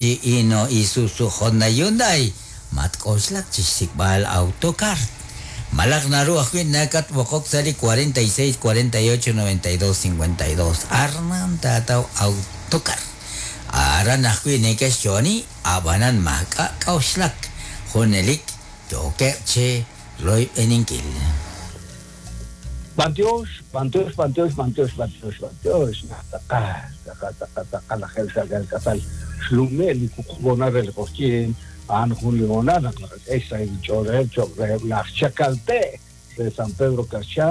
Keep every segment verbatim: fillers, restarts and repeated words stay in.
Hino, Isuzu, Honda, Hyundai, matk'oxlak chi xsik'b'al Autocar. Malaj naru ajwi' nakatb'oqok sa' li cuarenta y seis, cuarenta y ocho, noventa y dos, cincuenta y dos. Aran taataw Autocar. Aran ajwi' neke'xyo'oni, ab'anan maak'a' k'a'uxlak. Junelik yookeb' chi royb'eninkil. B'antiox, b'antiox, b'antiox, b'antiox, b'antiox, b'antiox. Naq tz'aqal, tz'aqal, tz'aqal, tz'aqal lajeeb' xka'k'aal k'asal xlume' li wuqub' hoonal re li q'oqyink, a'an jun li hoonal naq naqak'e xsahil ch'oolejeb' cho'q reheb' laj Chakalte re San Pedro Carchá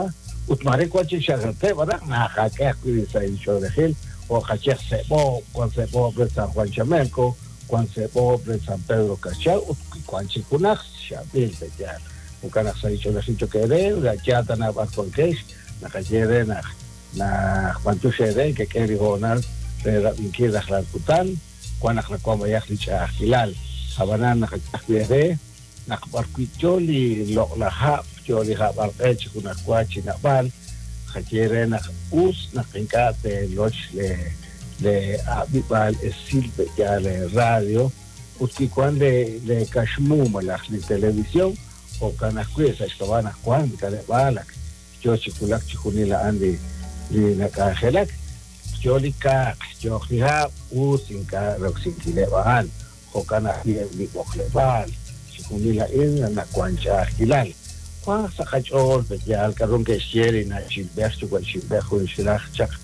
ut maare wan chik Chakalte b'araq naqak'e ajwi' li sahil ch'oolejil jo' qayeq Seb'oob', wan Seb'oob' re San Juan Chamelco, wan Seb'oob' re San Pedro Carchá ut wan chik junaq xab'il pe'yaal. Jo'kan naq sahil ch'oolejil cho'q eere, yaal tana b'ar wankex, naqaye re naq naq b'antiox eere kek'e li hoonal re rab'inkil rajlal kutan, wan naq nawank b'ayaq li ch'a'ajkilal. Ab'anan naqak'e ajwi' eere naq b'arwi' yo li loq'laj hab', yo li hab' arq'e chi junajwa chi nab'al, qaye re naq us naq ink'a' teeloch le le ab'ib'aal esil pe'yaal le radio ut wi wan le le kaxmu malaj li televisión, jo'kan ajwi' sa' xk'ab'a' naq wan li k'aleb'aal ak yo chi wulak chi junil a'an li li nak'anjelak, yo li kaaq, yooq li hab', us ink'a' roksinkileb' a'an, jo'kan ajwi' eb' li b'oqleb'aal, chi junil a'in nawank ch'a'ajkilal. Wanq sa' qach'ool pe'yaal k'aru ke'xye li na'chilb'ej yuwa'chilb'ej jun xraj chaq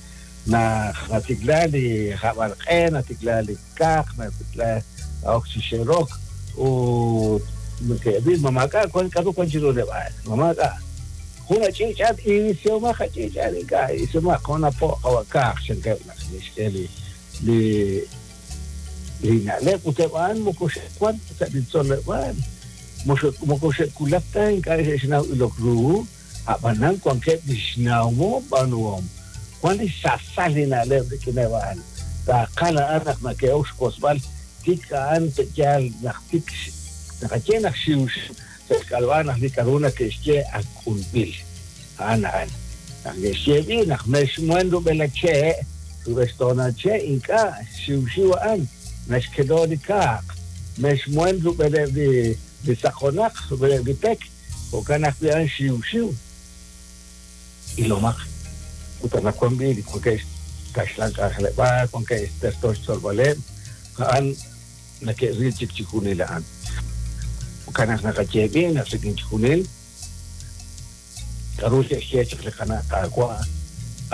naq natikla li hab'alq'e, natikla li kaaq, natikla ok chi xerok ut neke'ril ma maak'a' wan k'aru wan chiru leb'aal, ma maak'a'. Jun ach'iich'aat isihomaq ach'iich'aat ink'a' isihomaq jun apo' qawa' kaaq chankeb' naq ke'xk'e li li li na'leb' ut eb' a'an moko xe'wan sa' li tzoleb'aal, moko xe'wulak ta ink'a' xe'xnaw ilok ru, ab'anan wankeb' li xnawom b'aanuhom, wan li xsasal li na'leb' rik'ineb' a'an. Taaqal a'an naq nake'ok xk'osb'al tik a'an pe'yaal naq tik naqaye naq xiwxiw sa' xk'alb'al naq li k'aru nake'xye ak k'ulb'il. A'an a'an. Naq ke'xye b'i naq mexmuen rub'el che', rub'el xtoonal che' ink'a' xiwxiw a'an naxkelo li kaaq, mexmuen rub'eleb' li li saqonaq, rub'eleb' li pek, jo'kan ajwi' a'an xiwxiw. Ilomaq ut anaqwan b'i li wankeb' kaxlan k'anjeleb'aal, wankeb' terto xtzolb'aleb', a'an nake'ril chik chi junil a'an. Jo'kan naq naqaye b'i naq rik'in chi junil k'aru xe'xye chaq li qana' Qaawa'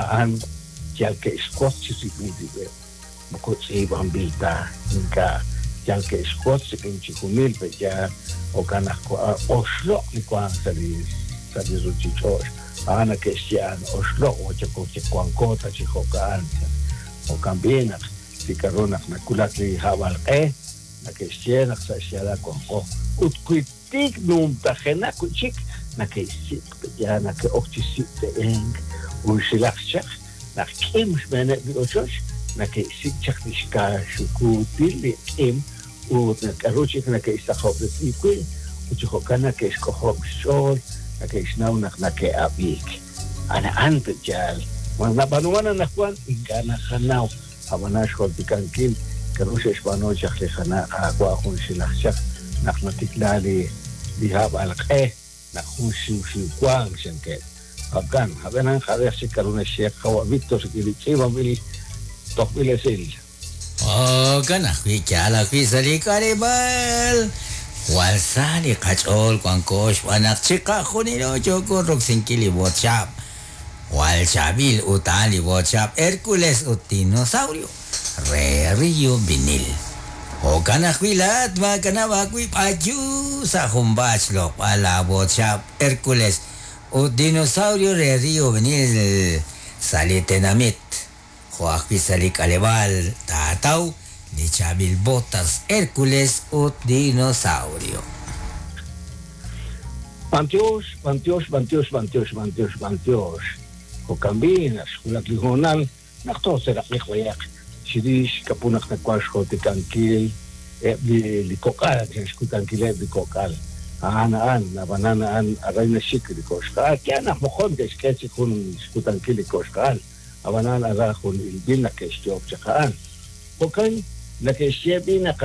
a'an yal ke'xwotz chi rib'il rib'eb', moko tz'iib'anb'il ta ink'a' yal ke'xwotz rik'in chi junil pe'yaal jo'kan naq oxloq' li wank sa' li sa' li ruuchich'och', a'an nake'xye a'an oxloq' wanko ta chi jo'ka'an. Jo'kan b'i naq li k'aru naq nawulak li hab'alq'e nake'xye naq sa' xyaalal wanko ut wi tik numtajenaq wi' chik nake'xsik' pe'yaal nake'ok chi sik' unxilaq chaq naq k'im xb'eeneb' li ochoch nake'xsik' chaq li xkaaxukuutil li k'im ut k'aru chik nake'xsaqob'resi wi' ut chi jo'kan nake'xk'ojob' xch'ool nake'xnaw naq nake'ab'iik. A'an pe'yaal nab'aanuman anaqwan ink'a' naqanaw ab'anan xjultikankil k'aru xe'xb'aanu chaq li qana' Qaawa' jun xilaj chaq naq natikla li li hab'alq'e naq jun xiwxiw wank chankeb'. Jo'kan, ab'anan qab'ej chik k'aru naxye qawa' Víctor rik'in li tz'iib'anb'il tojb'il esil. Jo'kan ajwi' yaal ajwi' sa' li k'aleb'aal. Jwal sa li qach'ool wanko xb'aan naq chiqajunilo yooko roksinkil li WhatsApp. Jwal chaab'il ut a'an li WhatsApp Hércules ut Dinosaurio re Rio Vinil. Jo'kan ajwi' laa'at maakanab' aawib' ayu sa' junpaat xloq'b'al la WhatsApp Hércules ut Dinosaurio re Rio Vinil sa' li tenamit. Jo' ajwi' sa' li k'aleb'aal taataw li chaab'il botas Hércules ut Dinosaurio. B'antiox, b'antiox, b'antiox, b'antiox, b'antiox, b'antiox. Jo'kan b'i naq xwulak li hoonal naq tooseraq'iq b'ayaq chirix k'apu naq nawank xjultikankil eb' li li kok'al, xkutankileb' li kok'al. A'an a'an, ab'anan a'an aran naxik li koxqa'al. Yaal naq moqon ke'xk'e chik jun xkutankil li koxqa'al, ab'anan ara jun ilb'il naq ke'xyoob' chaq a'an. Jo'kan nake'xye b'i naq